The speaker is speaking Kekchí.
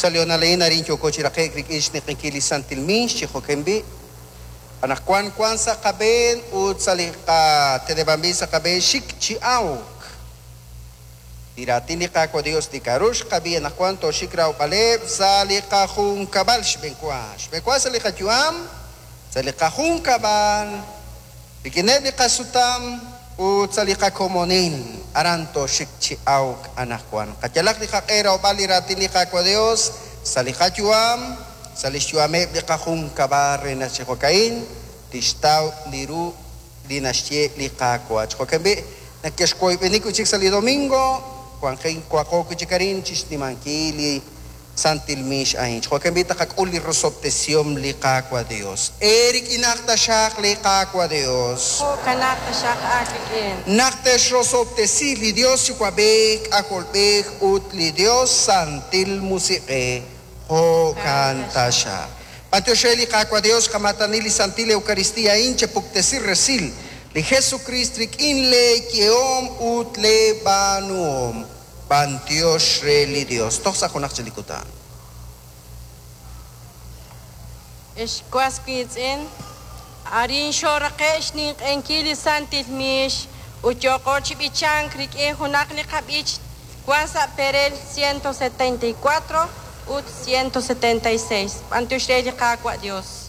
Sa' li honal a'in arin yooko chi raqe'k rik'in xninq'ehinkil li Santil Miix chi jo'kan b'i'. Anaqwan wank sa' qab'een ut sa' li qateneb'anb'il sa' qab'een xik chi awk. Li raatin li Qaawa' Dios li k'a'ru xqab'i anaqwan tooxik rawb'aleb' sa' li qajunkab'al xb'enwa. Xb'enwa sa' li qayu'am, sa' li qajunkab'al, rik'ineb' li qasutam ut sa' li qakomonil. Aran tooxik chi awk anaqwan. Qayalaq li qaq'e rawb'al li raatin li Qaawa' Dios sa' li qayu'am, sa' lix yu'ameb' li qajunkab'al re naq chi jo'ka'in tixtaw li ru li naxye li Qaawa'. Chi jo'kan b'i', nakexwoyb'eni wi' chik sa' li domingo, wanqin waqo wi' chik arin chi xnimankil li Santil Miix a'in. Chi jo'kan b'i' taqak'ul li rosob'tesihom li Qaawa' Dios. Eerik'inaq taxaq li Qaawa' Dios. Jo'kanaq taxaq aawik'in. Naq texrosob'tesi li Dios Yuwa'b'ej, K'ajolb'ej ut li Dios Santil Musiq'ej. Jo'kan taxaq. B'antiox re li Qaawa' Dios xqamaatani li Santil Eucaristía a'in chepuktesi resil li Jesucrist rik'in lee yehom ut lee b'aanuhom. B'antiox re li Dios. Toj sa' junaq chik li kutan. Ex was wiitz'in, arin xooraqe' xninq'ehinkil li Santil Miix ut yooqo chi b'ichank rik'in junaq li qab'ich wan sa' perel 174 ut 176. B'antiox re li Qaawa' Dios.